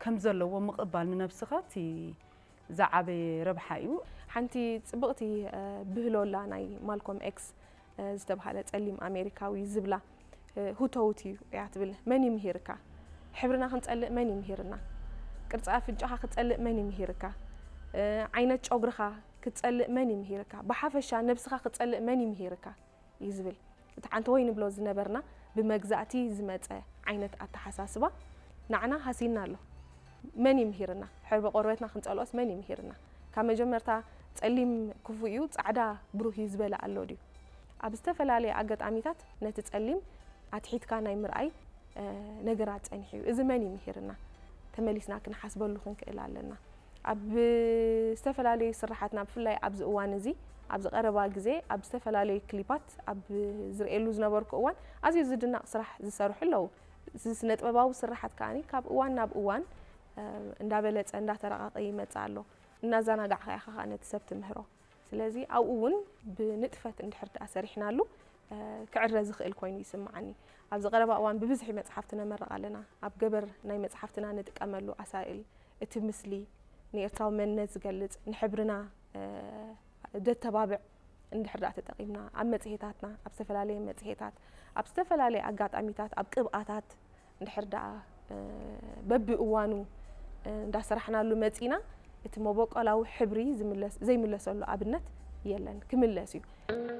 ከም ዘለዎ ምቕባል ንነብስኻ እቲ ዝዓበየ ረብሓ እዩ። ሓንቲ ጽብቕቲ ብህሎ ኣላ፣ ናይ ማልኮም ኤክስ ዝተባህለ ጸሊም ኣሜሪካዊ ዝብላ፣ ሁተውት እዩ እያ ትብል። መን ይምሂርካ? ሕብርና ክንጸልእ መን ይምሂርና? ቅርጺ ኣፍንጫኻ ክትጸልእ መን ይምሂርካ? ዓይነት ጨጉርኻ ክትጸልእ መን ይምሂርካ? ብሓፈሻ ነብስኻ ክትጸልእ መን ይምሂርካ? እዩ ዝብል። እቲ ሓንቲ ወይ ንብሎ ዝነበርና ብመግዛእቲ ዝመጸ ዓይነት ኣተሓሳስባ ንዓና ሃሲና ኣሎ። መን ይምሂርና? ሕብሪ ቆርበትና ክንጸልኦስ መን ይምሂርና? ካብ መጀመርታ ጸሊም ክፉእ እዩ፣ ጻዕዳ ብሩህ እዩ ዝበለ ኣሎ ድዩ? ኣብ ዝተፈላለየ ኣጋጣሚታት ነቲ ጸሊም ኣትሒትካ ናይ ምርኣይ ነገራት ጸኒሑ እዩ። እዚ መን ይምሂርና? ተመሊስና ክንሓስበሉ ክንክእል ኣለና። ኣብ ዝተፈላለዩ ስራሓትና፣ ብፍላይ ኣብዚ እዋን እዚ፣ ኣብዚ ቀረባ ግዜ ኣብ ዝተፈላለዩ ክሊፓት ኣብ ዝርእየሉ ዝነበርኩ እዋን ኣዝዩ ዝድነቕ ስራሕ ዝሰርሑ ኣለዉ። እዚ ስነ ጥበባዊ ስራሓት ከኣ ካብ እዋን ናብ እዋን እንዳበለጸ እንዳተረቓቐ ይመጽእ ኣሎ። እናዘናጋዕካ ኢኻ ከኣ ነቲ ሰብ ትምህሮ። ስለዚ ኣብኡ እውን ብንጥፈት እንድሕር ደኣ ሰሪሕናሉ ክዕረ ዝኽእል ኮይኑ ይስምዓኒ። ኣብዚ ቀረባ እዋን ብብዝሒ መጽሓፍቲ ነመርቕ ኣለና። ኣብ ገበር ናይ መጽሓፍትና ንጥቀመሉ ኣሳእል፣ እቲ ምስሊ ንኤርትራዊ መንነት ዝገልጽ፣ ንሕብርና ደተባብዕ እንድሕር ደኣ ተጠቒምና፣ ኣብ መጽሔታትና፣ ኣብ ዝተፈላለየ መጽሔታት፣ ኣብ ዝተፈላለየ ኣጋጣሚታት፣ ኣብ ቅብኣታት እንድሕር ደኣ በብእዋኑ እንዳሰራሕናሉ መጺና፣ እቲ መበቆላዊ ሕብሪ ዘይምለሰሉ ኣብነት የለን። ክምለስ እዩ።